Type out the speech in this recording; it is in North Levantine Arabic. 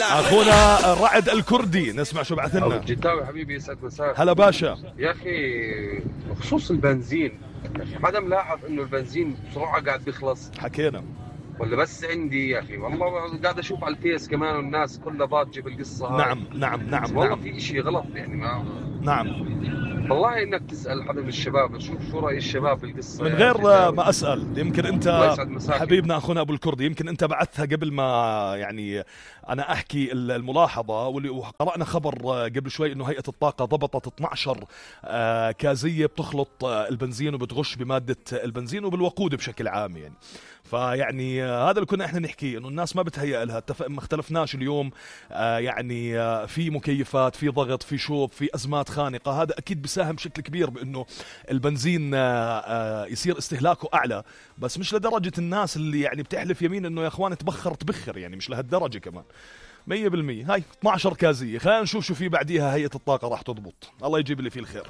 اخونا رعد الكردي، نسمع شو بعث لنا. الجتاوي حبيبي يسعد مساك. هلا باشا. يا اخي بخصوص البنزين، يا اخي حدا ملاحظ انه البنزين بسرعه قاعد بيخلص؟ حكينا ولا بس عندي يا اخي؟ والله قاعد اشوف على الفيس كمان والناس كلها ضاجه بالقصه هاي. نعم والله في اشي غلط يعني. ما نعم والله انك تسال حدا من الشباب، شو راي الشباب بالقصه من غير ما اسال. يمكن انت حبيبنا اخونا ابو الكردي، يمكن انت بعثها قبل ما يعني انا احكي الملاحظه، وقرانا خبر قبل شوي انه هيئه الطاقه ضبطت 12 كازيه بتخلط البنزين وبتغش بماده البنزين وبالوقود بشكل عام يعني. فيعني هذا اللي كنا احنا نحكيه، انه الناس ما بتهيأ لها. ما اختلفناش اليوم يعني في مكيفات، في ضغط، في شوب، في ازمات خانقه. هذا اكيد بيساهم بشكل كبير بانه البنزين يصير استهلاكه اعلى، بس مش لدرجه الناس اللي يعني بتحلف يمين انه يا اخوان تبخر يعني، مش لهالدرجه كمان. 100%. هاي 12 كازيه، خلينا نشوف شو في بعديها. هيئه الطاقه راح تضبط، الله يجيب اللي فيه الخير.